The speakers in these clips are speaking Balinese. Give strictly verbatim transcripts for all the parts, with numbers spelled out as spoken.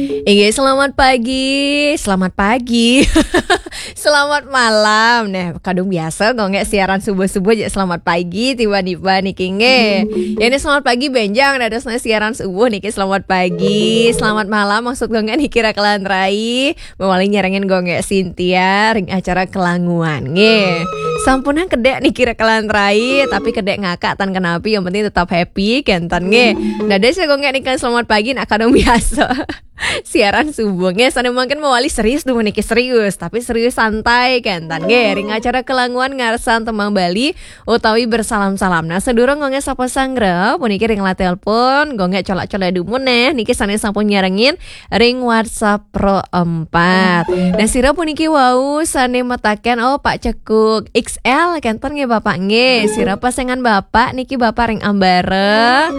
Inggih, selamat pagi. Selamat pagi. Selamat malam. Nah, kadung biasa Gonggek siaran subuh-subuh ja selamat pagi tiba-tiba niki nggih. Ya, ini selamat pagi benjang dadosna siaran subuh niki selamat pagi. Selamat malam maksud Gonggek niki Rakelan Rai. Mawali nyarengin Gonggek Sintia ring acara kelanguan nggih. Sampunang kedek niki Rakelan Rai, tapi kedek ngakak tan kenapi, yang penting tetap happy kenten nggih. Dados ya Gonggek niki selamat pagi nak kadung biasa. Siaran subuh nggih, sane mangkin mawali serius tuh niki serius, tapi serius santai kenten nggih. Ring acara kelanguan ngarsan tembang Bali utawi bersalam-salam. Nah, sedurung Gonggek sapa sanggra, puniki ring layar telepon, Gonggek colak-colak dumun neh, niki sane sampun nyarengin ring WhatsApp Pro empat. Nah, sira puniki wau sane metaken, oh, Pak Cekuk X L, kenten nggih Bapak nggih. Sira pasengan Bapak niki Bapak ring Ambara.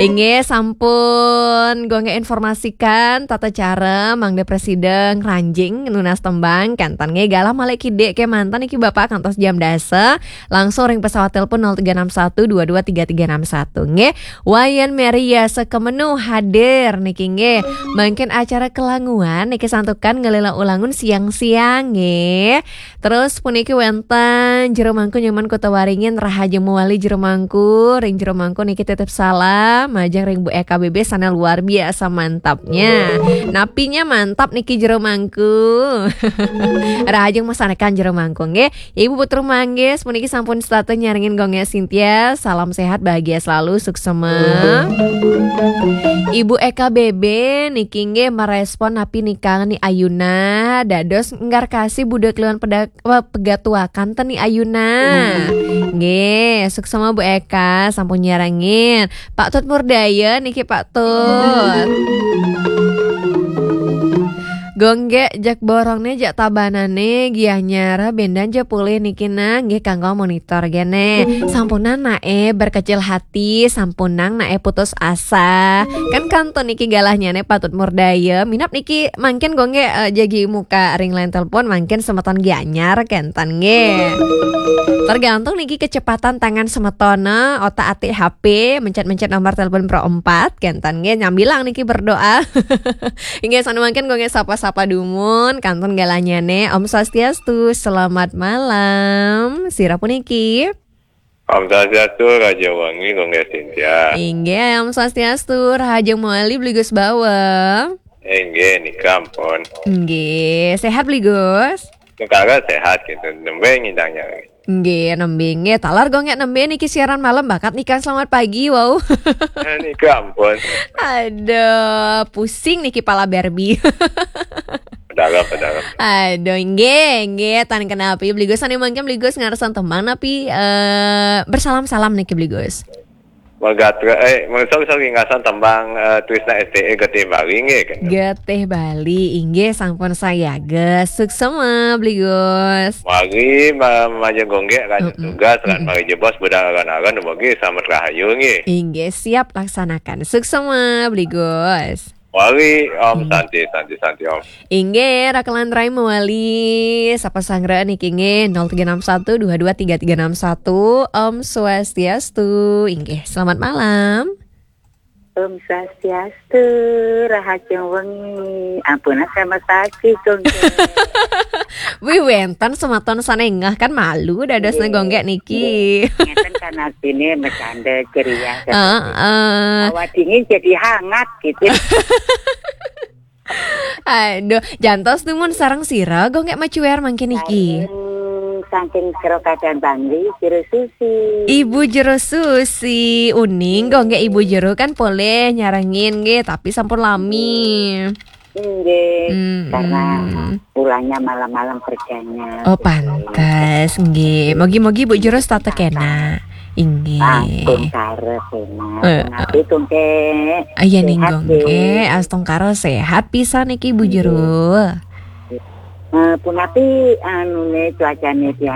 Inggih, sampun Gonggek informasikan tata cara mangda prasida ngranjing nunas tembang, kenten nggih galah malih kidik kemanten niki Bapak kantos jam dasa, langsung ring pesawat telepon nol tiga enam satu dua dua tiga tiga enam satu nggih. Wayan Mary Yasa Kemenu hadir niki nggih. Mangkin acara kelanguan niki santukan ngelela ulangun siang-siang nggih. Terus puniki wenten Jero Mangku Nyoman Kota Waringin, rahajeng mawali Jero Mangku, ring Jero Mangku niki titip salam majeng ring Bu Eka B B sane luar biasa mantapnya. Napinya mantap niki Jero Mangku. Rahajeng masanekan Jero Mangku nggih. Ibu Putu Manggis puniki sampun setata nyarengin Gonggek Sintia. Salam sehat, bahagia selalu, suksema. Ibu Eka B B niki nggih merespon napi nikang ni ayuna dados enggar kasih budak keliwan peda-, eh, pegatuakan ten ni ayuna. Nggih, suksema Bu Eka sampun nyarengin. Pak Tut Murdaya niki Pak Tut. Gonggek jak borongne jak tabanane Gianyar bendan ja pulih niki nah nggih kanggo monitor gene. Sampunang nae berkecil hati, sampunang nae putus asa. Kan kantun niki galahnyane Pak Tut Murdaya. Minab niki mangkin Gonggek, eh, jagi muka ring line telepon mangkin semeton Gianyar kenten nggih. Tergantung niki kecepatan tangan semetona, otak atik H P, mencet-mencet nomor telepon Pro empat kenten nggih nyambilang niki berdoa. Inggih, sane mangkin Gonggek sapa-sapa dumun, kantun galahnyane. Om Swastiastu, selamat malam. Sira puniki? Om Swastiastu, Raja Wangi, Gonggek Sintia. Inggih, Om Swastiastu, rahajeng mawali Bli Gus Bawa. Inggih, nika ampun. Inggih, sehat Bli Gus? Negara sehat gitu, nembe ngidangnya. Nggih, nembe nggih. Taler Gonggek nembe niki siaran malam bakat nika selamat pagi, wow. Nika ampun. Aduh, pusing niki pala Barbie. Padahal, padahal. Aduh, nggih, nggih, tan kenapi Bli Gus sane mangkin Bli Gus ngarsan tembang napi, eh, bersalam-salam niki Bli Gus. Magatra, eh, mangsa bisa ringasan tembang, eh, Trisna S T E Getih Bali nggih kan. Getih Bali, inggih sampun sayaga. Suksema Bli Gus. Mari ma-, majeng Gonggek kan. Mm-mm. Tugas kan. Mm-mm. Mari jebos budal aran-aran, mugi selamat rahayu nggih. Inggih, siap laksanakan. Suksema Bli Gus. Mari, Om. Hmm. Santi, santi, santi, Om. Inggih, Rakelan Rai mawali sapa sanggra niki nggih, nol tiga enam satu dua dua tiga tiga enam satu. Om Swastiastu. Inggih, selamat malam. Om Swastiastu, rahajeng wengi. Ampun, sama sakit, Gung. Wih, wenten semeton sane ngeh kan malu dadosne Gonggek niki. Ngeten kan artine bercanda ceria. Heeh. Hawa dingin jadi hangat gitu. Aduh, jantos dumun sareng sira Gonggek macuer mangkin niki. Saking, saking Sero Kadan Bangli, Jero Susi. Ibu Jero Susi, uning Gonggek Ibu Jero kan polih nyarengin nggih, tapi sampun lami. Nggih, hmm, karena pulangnya malam-malam kerjanya. Oh, gitu. Pantes, nggih. Mogi-mogi Bu Jero tetep kena. Inggih. Astungkara sehat. Eh, napi tungke. Iya, sehat, Gung, nggih. Astungkara sehat pisan niki, Bu Jero. Eh, punapi anune cuacane